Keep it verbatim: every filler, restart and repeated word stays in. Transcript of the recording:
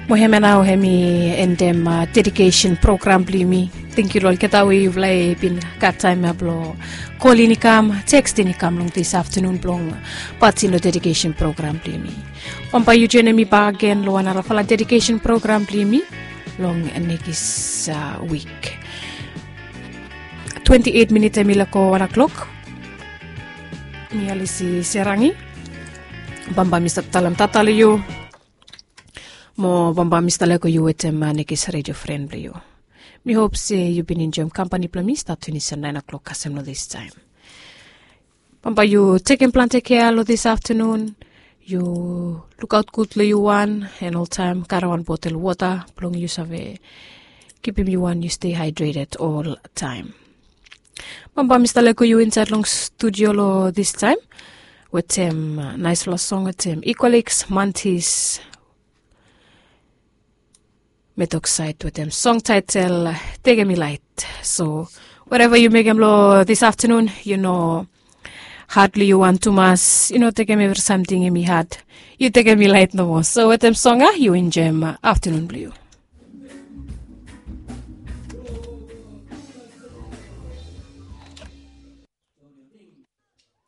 Mo hemia nao hemi endem dedikesen program blong yumi. Tenkyu long olgeta we yufala i bin gat taem ya blong kolin i kam, tekstin i kam long dis aftenun blong patin long dedikesen program blong yumi. Bambae yu joenem mi bakegen long wan narafala dedikesen program blong yumi long nekis wik. Twenti eit minit hemi lego wan klok. Mi alisi serangi. Bambae mi stap talem tata long yu. Mo bambae mi stap lego yu wetem nekis redio fren blong yu. Mi hop se yu bin enjoem kampani blong mi stat finis long naen klok kasem long distaem. Bambae yu tekem plante kea long dis aftenun. Yu lukaot gud long yu wan, en oltaem karem wan botel wota blong yu save kipim yu wan yu stei haedreted oltaem. Bambae mi stap lego yu insaed long studio long distaem wetem naesfala song wetem Equalix, Mantis, Metoxide wetem song taetel Tekem Mi Laet. So whatever yu mekem long dis aftenun, yu no had long yu wan tumas, yu no tekem evri samting hemi had. Yu tekem mi laet nomo. So wetem song ya yu enjoem aftenun blong yu.